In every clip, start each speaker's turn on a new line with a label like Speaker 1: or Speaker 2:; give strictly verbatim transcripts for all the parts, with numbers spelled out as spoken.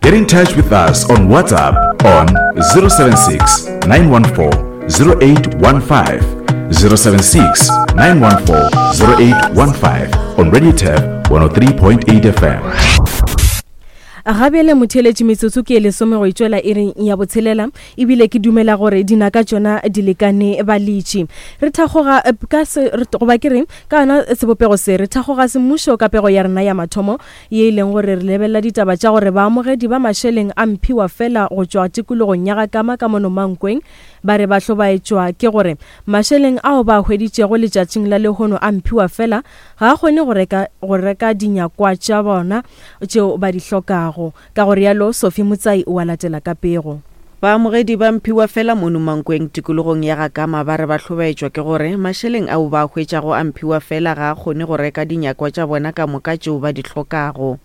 Speaker 1: Get in touch with us on WhatsApp on zero seven six, nine one four, zero eight one five, zero seven six, nine one four, zero eight one five on Radio Turf one oh three point eight F M.
Speaker 2: Ga bjale motheeletši metsotso ke e lesome go itšwela iring ya botshelela, ebile ke dumela gore dinaka tšona di lekane balitši. Re thakgoga, eh, ka se, re, goba ke reng, ka yona sebopego se, re thakgoga semmušo ka pego ya rena ya mathomo, ye e leng gore re lebelela ditaba tša gore baamogedi ba mašeleng a mphiwa fela go tšwa tikologong ya Gakama ka mono Mankweng, ba re ba hlobaetšwa ke gore mašeleng ao ba hweditšego letšatšing la lehono a mphiwa fela ga a kgone go reka, go reka dinyakwa tša bona tšeo ba di hlokago. Ka go rialo, Sophie Motsai o a latela ka pego.
Speaker 3: Baamogedi ba mphiwa fela mono Mankweng tikologong ya Gakama ba re ba hlobaetšwa ke gore mašeleng ao ba hwetšago a mphiwa fela ga a kgone go reka dinyakwa tša bona ka moka tšeo ba di hlokago.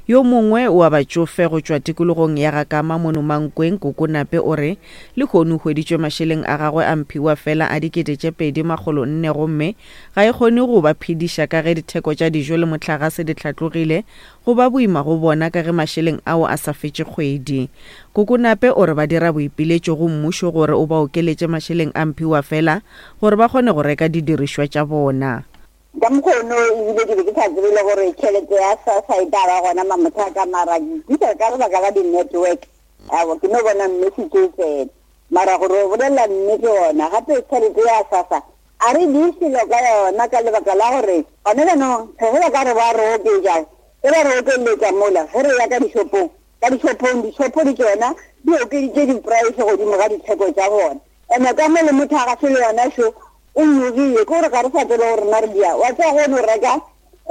Speaker 3: Yo mongwe wa batšofe go tšwa tikologong ya Gakama mono Mankweng, Koko Nape, o re lehono o hweditšwe mašeleng a gagwe a mphiwa fela a dikete tše pedi makgolo nne gomme ga e kgone go ba phediša ka ge ditheko tša dijo le mohlagase di hlatlogile, go ba boima go bona ka ge mašeleng ao a sa fetše kgwedi. Koko Nape o re ba dira boipiletšo go mmušo gore o ba okeletše mašeleng a mphiwa fela gore ba kgone go reka didirišwa tša bona.
Speaker 4: Ka mokgono ebile ke be ke sa tsebe le gore tšhelete ya SASSA e tla ba gona mamothaka, mara ke tlisa ka lebaka la di-network. Aowa, ke no bona message e tsena. Mara gore o bolela nnete gona, gape tšhelete ya SASSA a re di selo ka yona ka lebaka la gore gone jaanong ge ba ka re ba re oketša, ge ba re okeletša mola, ge re ya ka dishopong, ka dishopong, dishopo di tšona di okeditše di-price godimo ga ditheko tša bona. Ene ka mo le motho a ga se le yona šo, o nyogile, ke gore ga re sa tsebe gore rena re dia. Wa tseba go no reka,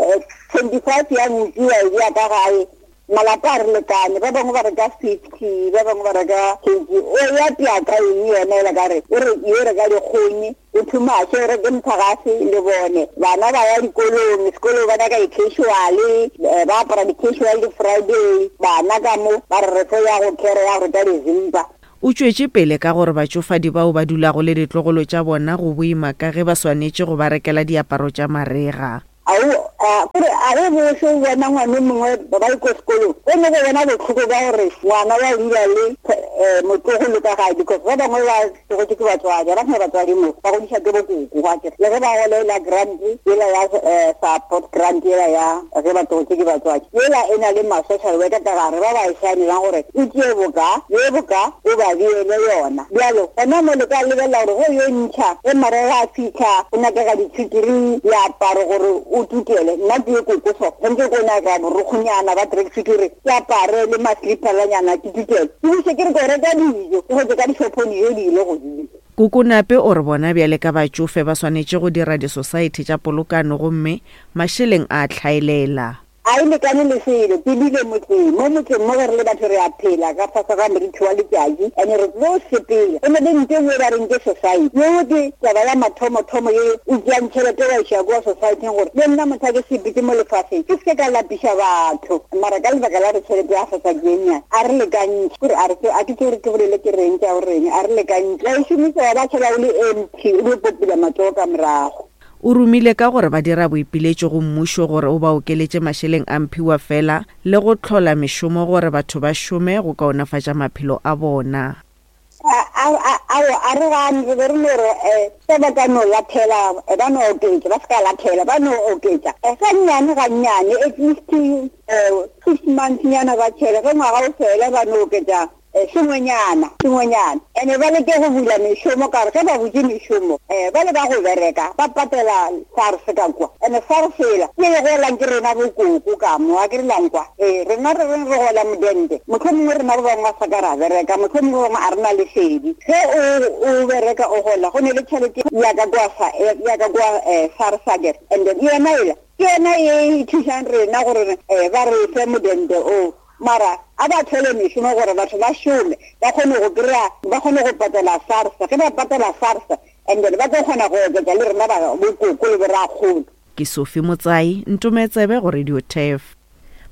Speaker 4: eh, twenty-five ya bupi wa e bea ka gae, malapa a re lekane, ba bangwe ba reka fifty, ba bangwe ba reka twenty. O ya pea ka eng yona ela ka re, o re, yo reka dikgong, o thumaše, o reke motlakase le bone. Bana ba ya dikolong, sekolo ba nyaka di-casual, eh, ba apara di-casual di-Friday, bana ka mo, ba re re tlo ya go kere ya go reka dizimpa.
Speaker 3: O tšwetše pele ka gore batšofadi bao ba dulago le ditlogolo tša bona go boima ka ge ba swanetše go ba rekela diaparo tša marega.
Speaker 4: Ao, a, gore a re bose o bona ngwana o mongwe ba ba ko sekolong, o ne go bona bohloko ba gore ngwana wa dula le, eh, motlogolo ka gae, because ba bangwe ba tlogetše ke batswadi, ba sena batswadi mo, ba godiša ke bokoko, gwa ke. Le ge ba golela grant, yela ya, eh, support grant yela ya ge ba tlogetše ke batswadi, yela e na le ma-social worker ka gare ba ba e saenelang gore o tšee boka, ye boka, o ba beele yona. Bjalo, gona mo le ka lebelela gore ge o yo ntšha, ge marega a fitlha, go nyakega ditšhikiri, diaparo gore o tukele. Nna ke ye koko so, tshwanetse ko nyaka borokgonyana ba tracksuit gore ke apare le ma-slipperanyana ke tukele. Ke buse ke re ko reka dijo, ke hwetše ka dishopong dijo di ile godimo.
Speaker 3: Koko Nape o re bona bjale ka batšofe ba swanetše go dira disosaete tša polokano gomme mašeleng a tlhaelela.
Speaker 4: A e lekane le selo, ke dule motseng. Mo motseng mo ge re le batho re a phela ka fase ga morithi wa letšatši, ene re tlo sepela. Go na le ntho e nngwe ba reng ke society. Yeo ke taba ya mathomo-thomo ye o tšeang tšhelete wa iša kua society-eng gore le nna motho a ke sepetse mo lefaseng, ke seke ka lapiša batho. Mara ka lebaka la gore tšhelete ya SASSA ke e nnyane, a re lekantšhe. Kore a re tse, a ke tse gore ke bolele ke reng tša gore reng, a re lekantšhe. Wa e šomisa wa ba tšhela o le empty, o dio popula matsogo ka morago.
Speaker 3: O romile ka gore ba dira boipiletšo go mmušo gore o ba okeletše mašeleng a mphiwa fela le go hlola mešomo gore batho ba šome go kaonafatša maphelo a bona.
Speaker 4: A, a, a, ao, a re gane, re be re no re, eh, se ba ka no lathela, eh, ba no oketša, ba se ka lathela, ba no oketša. Eh, ga nnyane, ga nnyane, at least, eh, six months nyana ba tšhele, ge ngwaga o fela ba no oketša, eh, sengwenyana, sengwenyana. Ene ba leke go bula mešomo, ka gore ge ba butše mešomo, eh, ba le ba go bereka, ba patela SARS ka kwa. Ene SARS ela, ke e golang ke rena bokoko ka mo, a ke re lang kwa. Eh, rena re reng re gola modente, mohlomongwe rena ba bangwe ba sa ka ra bereka, mohlomongwe ba bangwe a re na lesedi. Ge o, o bereka o gola, go ne le tšhelete ya ka kwa sa, ya ka kwa, eh, SARS akere. And then yona ela, ke yona e e thušang rena gore, eh, ba re fe modente o. Mara a ba thole mešomo gore batho ba šome, ba kgone go kry-a, ba kgone go patela SARS. Ge ba patela SARS, and then ba tlo kgona go oketša le rena ba bokoko le borakgolo.
Speaker 3: Ke Sophie Motsai, Ntometsebe go Radio Turf.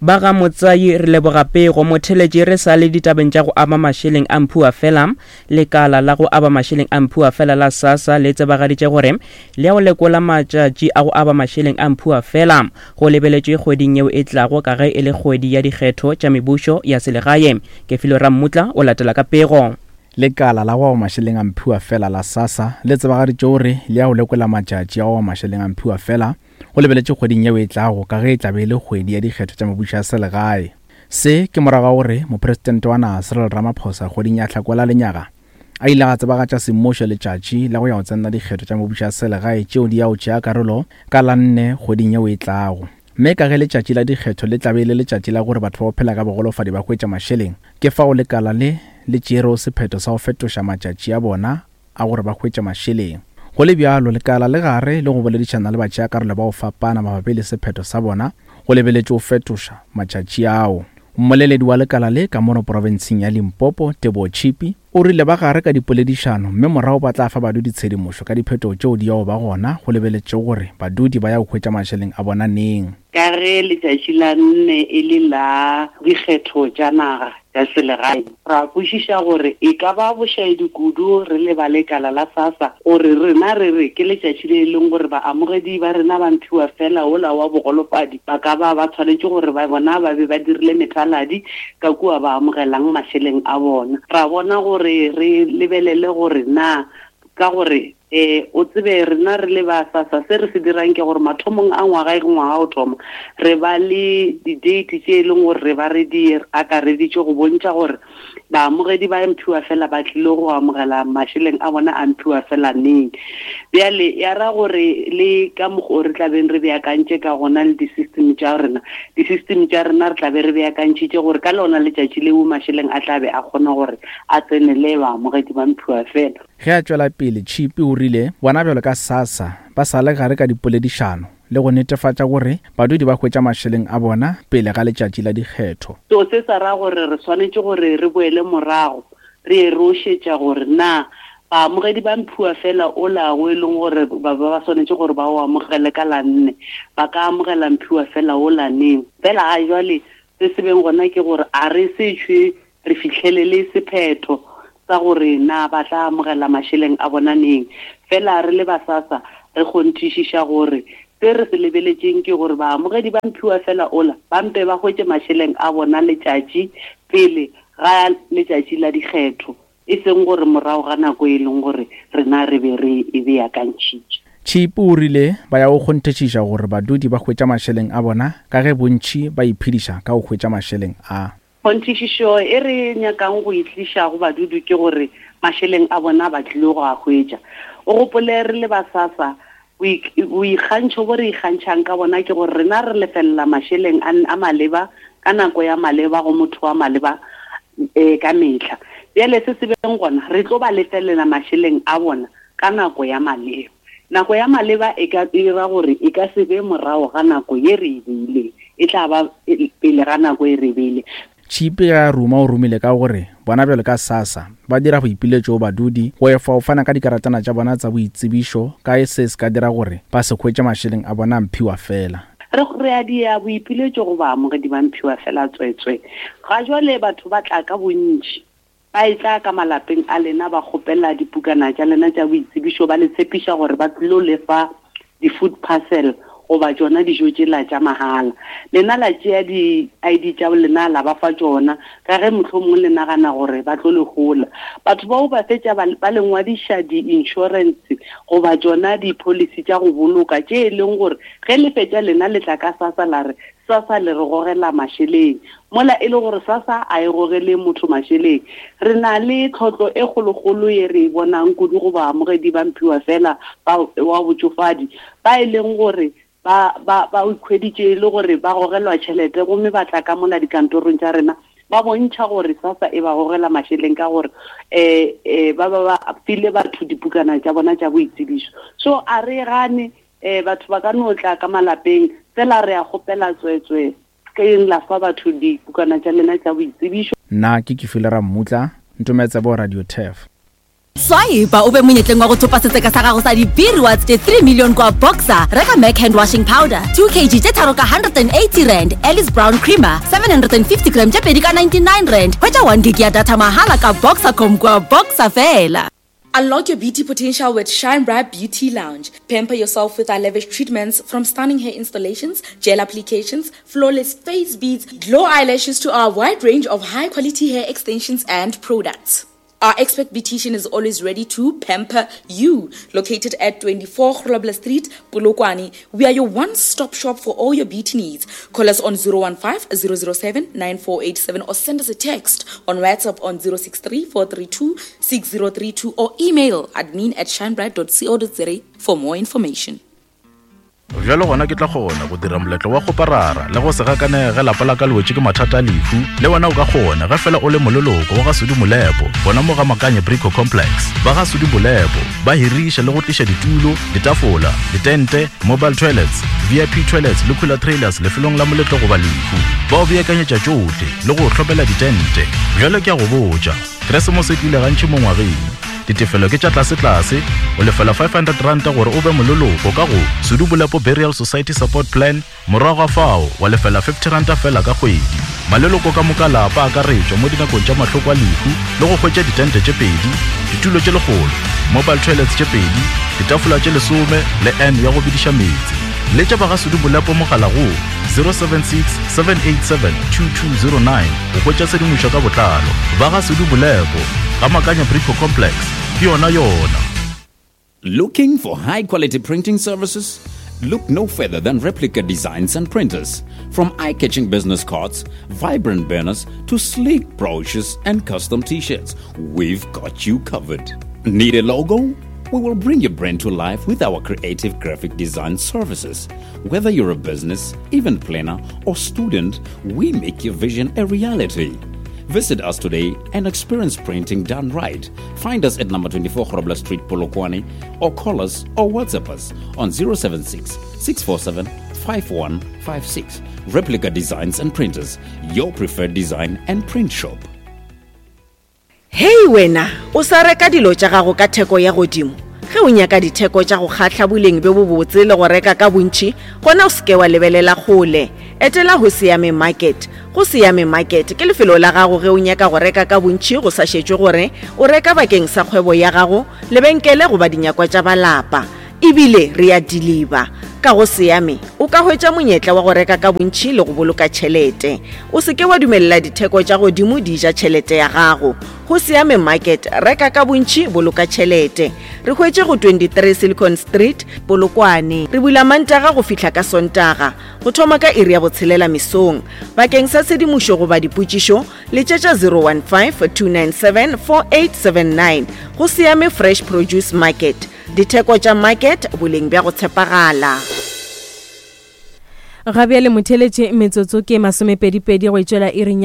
Speaker 5: Ba ga Motsai re leboga pego. Motheletši re sa le ditabeng tša go aba mašeleng a mphiwa fela. Lekala la go aba mašeleng a mphiwa fela la SASSA le tsebagaditše gore le ya go lekola matšatši a go aba mašeleng a mphiwa fela go lebeletšwe kgweding yeo e tlago ka ge e le kgwedi ya dikgetho tša mebušo ya selegae. Kefilo Rammutla o latela ka pego.
Speaker 6: Lekala la go aba mašeleng a mphiwa fela la SASSA le tsebagaditše gore le ya go lekola matšatši a go aba mašeleng a mphiwa fela go lebeletše kgweding yeo e tlago ka ge e tlabe e le kgwedi ya dikgetho tša mebušo ya selegae. Se ke morago ga gore mopresidente wa naga Cyril Ramaphosa kgweding ya Hlakola lenyaga a ile a tsebagatša semmušo letšatši la go ya go tsenela dikgetho tša mebušo ya selegae tšeo di ya go tšea karolo ka la nne kgweding yeo e tlago. Mme ka ge letšatši la dikgetho le tlabe e le letšatši la gore batho ba go phela ka bogolofadi ba hwetša mašeleng, ke fao lekala le le tšerego sephetho sa go fetoša matšatši a bona a gore ba hwetša mašeleng. Go le bjalo, lekala le gare le go boledišana le batšeakarolo ba go fapana mabapi le sephetho sa bona go lebeletše go fetoša matšatši ao. Mmoleledi wa lekala le ka mono profenseng ya Limpopo, Teboho Chipi, o rile ba gare ka dipoledišano mme morago ba tla fa badudi tshedimošo ka diphetogo tšeo di yago ba gona go lebeletše gore badudi ba ya go hwetša mašeleng a bona neng.
Speaker 7: Ka ge letšatši la nne e le la dikgetho tša naga tša selegae, ra kwešiša gore e ka ba bošaedi kudu re le ba lekala la SASSA gore rena re re ke letšatši le leng gore baamogedi ba rena ba mphiwa fela ola wa bogolofadi ba ka ba ba tshwanetše gore ba bona ba be ba dirile methaladi ka kua ba amogelang mašeleng a bona. Ra bona gore re lebelele gore na ka gore eh o tsebe rena re le ba SASSA se re se dirang ke gore mathomong a ngwaga e ngwaga o thoma re ba le di-date tše e leng gore re ba re di akareditše go bontšha gore baamogedi ba mphiwa fela ba tlile go amogela mašeleng a bona a mphiwa fela neng. Bjale ya ra gore le ka mokgwa re tlabeng re beakantše ka gona le di-system tša rena, di-system tša rena re tlabe re beakantšhitše gore ka lona letšatši leo mašeleng a tlabe a kgona gore a tsenele baamogedi ba mphiwa fela.
Speaker 6: Ge a tšwela pele, Chipi o rile bona bjalo ka SASSA ba sa le gare ka dipoledišano le go netefatša gore badudi ba hwetša mašeleng a bona pele ga letšatši la dikgetho.
Speaker 7: So se sa ra gore re swanetše gore re boele morago re ye re o šetša gore na baamogedi ba mphiwa fela ola go e leng gore ba ba swanetše gore ba o amogele ka la nne ba ka amogela mphiwa fela ola neng. Fela ga jwale se se beng gona ke gore a re se tšhwe re fihlelele sephetho sa gore na ba tla amogela mašeleng a bona neng. Fela re le ba SASSA re kgonthišiša gore se re se lebeletšeng ke gore baamogedi ba mphiwa fela ola ba mpe ba hwetše mašeleng a bona letšatši pele ga letšatši la dikgetho, e seng gore morago ga nako e leng gore rena re be re e beakantšhitše.
Speaker 6: Chipi o rile ba ya go kgonthišiša gore badudi ba hwetša mašeleng a bona ka ge bontši ba iphediša ka go hwetša mašeleng a.
Speaker 7: Kgonthišišo e re nyakang go itliša go badudi ke gore mašeleng a bona ba tlile go a hwetša. O gopole re le ba SASSA boikgantšho bo re ikgantšhang ka bona ke gore rena re lefelela mašeleng a maleba ka nako ya maleba go motho wa maleba um ka mehla. Bjale se se beng gona re tlo ba lefelela mašeleng a bona ka nako ya maleba. Nako ya maleba e ka dira gore e ka se be morago ga nako ye re e beileng, e tla ba pele ga nako e re e beileng.
Speaker 6: Chipi ya ruma o romile ka gore bona bjalo ka SASSA ba dira boipiletšo go badudi go efa go fana ka dikaratana tša bona tša boitsebišo ka e se se ka dira gore ba se hwetše mašeleng a bona a mphiwa fela.
Speaker 7: Re re a dia boipiletšo go baamogedi ba mphiwa fela tswetswe. Ga jwale batho ba tla ka bontši ba e tla ka malapeng a lena ba kgopela dipukana tša lena tša boitsebišo ba le tshepiša gore ba tlilo lefa di-food parcel goba tšona dijo tšela tša mahala. Lena la tšea di-I D tša lena la ba fa tšona ka ge mohlomongwe le nagana gore ba tlo le hola. Batho bao ba fetša ba le ngwadiša di-insurance goba tšona di-policy tša go boloka tše e leng gore ge le fetša lena le tla ka SASSA la re SASSA le re gogela mašeleng, mola e le gore SASSA a e gogele motho mašeleng. Re na le tlhotlo e kgolokgolo ye re e bonang kudu go baamogedi ba mphiwa fela ba wa botšofadi ba e leng gore ba ba ba ikhweditše e le gore ba gogelwa tšhelete gomme ba tla ka mola dikantorong tša rena ba bontšha gore SASSA e ba gogela mašeleng ka gore um um ba ba ba file batho dipukana tša bona tša boitsebišo. So a re gane um batho ba ka no tla ka malapeng fela re a kgopela tswetswe ke eng la fa batho dipukana tša lena tša boitsebišo.
Speaker 6: Nna ke Kefile Rammutla, Ntometse bo Radio Turf.
Speaker 8: Swipe o be monyetleng wa go thopa setseka sa gago sa di-B-rewards tše three million kwa Boxer. Reka Mac hand washing powder two kg tše tharo ka one hundred and eighty rand, Alice Brown creamer seven hundred and fifty gram tše pedi ka ninety-nine rand. Hwetša one gig ya data mahala ka Boxercom kwa Boxer fela.
Speaker 9: Unlock your beauty potential with Shine Bright Beauty Lounge. Pamper yourself with our lavish treatments, from stunning hair installations, gel applications, flawless face beads, glow eyelashes to our wide range of high-quality hair extensions and products. Our expert beautician is always ready to pamper you. Located at twenty-four Grobler Street, Polokwane, we are your one-stop shop for all your beauty needs. Call us on zero one five, zero zero seven, nine four eight seven or send us a text on WhatsApp on zero six three, four three two, six zero three two or email admin at shinebright dot co dot za for more information.
Speaker 1: Bjalo gona ke tla kgona go dira moletlo wa go parara le go se gakanege lapa la ka le wetše ke mathata a lehu. Le wena o ka kgona ge fela o le moleloko wa ga Sudi Molepo, gona mo ga Makanye Brico Complex. Ba ga Sudi Molepo ba hiriša le go tliša ditulo, ditafola, ditente, mobile toilets, V I P toilets le cooler trailers lefelong la moletlo goba lehu. Ba o beakanyetša tšohle le go hlopela ditente. Bjalo ke a go botša, Keresemose e tlile gantši mo ngwageng. Ditefelo ke tša tlase-tlase, o lefela five hundred rand gore o be moleloko ka go Sudi Molepo Burial Society Support Plan, morago ga fao wa lefela fifty rand fela ka kgwedi. Maleloko ka moka lapa a akaretšwa mo dinakong tša mahloko a lehu le go hwetša ditente tše pedi, ditulo tše lekgolo, mobile toilets tše pedi, ditafola tše lesome le N ya go bidiša meetse. Letša ba ga Sudi Molepo mogala go zero seven six, seven eight seven, two two zero nine go hwetša tshedimošo ka botlalo. Ba ga Sudi Molepo, ga Makanya Brico Complex, ke yona yona.
Speaker 10: Looking for high quality printing services? Look no further than Replica Designs and Printers. From eye-catching business cards, vibrant banners, to sleek brochures and custom t-shirts, we've got you covered. Need a logo? We will bring your brand to life with our creative graphic design services. Whether you're a business, event planner, or student, we make your vision a reality. Visit us today and experience printing done right. Find us at number twenty-four Grobler Street, Polokwane, or call us or WhatsApp us on zero seven six, six four seven, five one five six. Replica Designs and Printers, your preferred design and print shop.
Speaker 3: Hey wena, o sa reka dilo tša gago ka theko ya godimo. Ge o nyaka ditheko tša go kgahla boleng bjo bobotse le go reka ka bontši, gona o seke wa lebelela kgole. Etela go Siame Market. Go Siame Market ke lefelo la gago ge o nyaka go reka ka bontši go sa šetšwe gore o reka bakeng sa kgwebo ya gago, lebenkele goba dinyakwa tša balapa. Ebile re a deliver. Ka go Siame o ka hwetša monyetla wa go reka ka bontši le go boloka tšhelete. O seke wa dumelela ditheko tša godimo di ja tšhelete ya gago. Go Siame Market, reka ka bontši, boloka tšhelete. Re hwetše go twenty-three Silicon Street, Polokwane. Re bula Mantaga go fihla ka Sontaga, go thoma ka iri ya botshelela mesong. Bakeng sa tshedimošo goba dipotšišo, letšetša zero one five, two nine seven, four eight seven nine. Go Siame Fresh Produce Market. Ditheko tša market, boleng bja go tshepagala.
Speaker 2: Ga bjale motheletše metsotso ke masomepedipedi go itšwela iring ya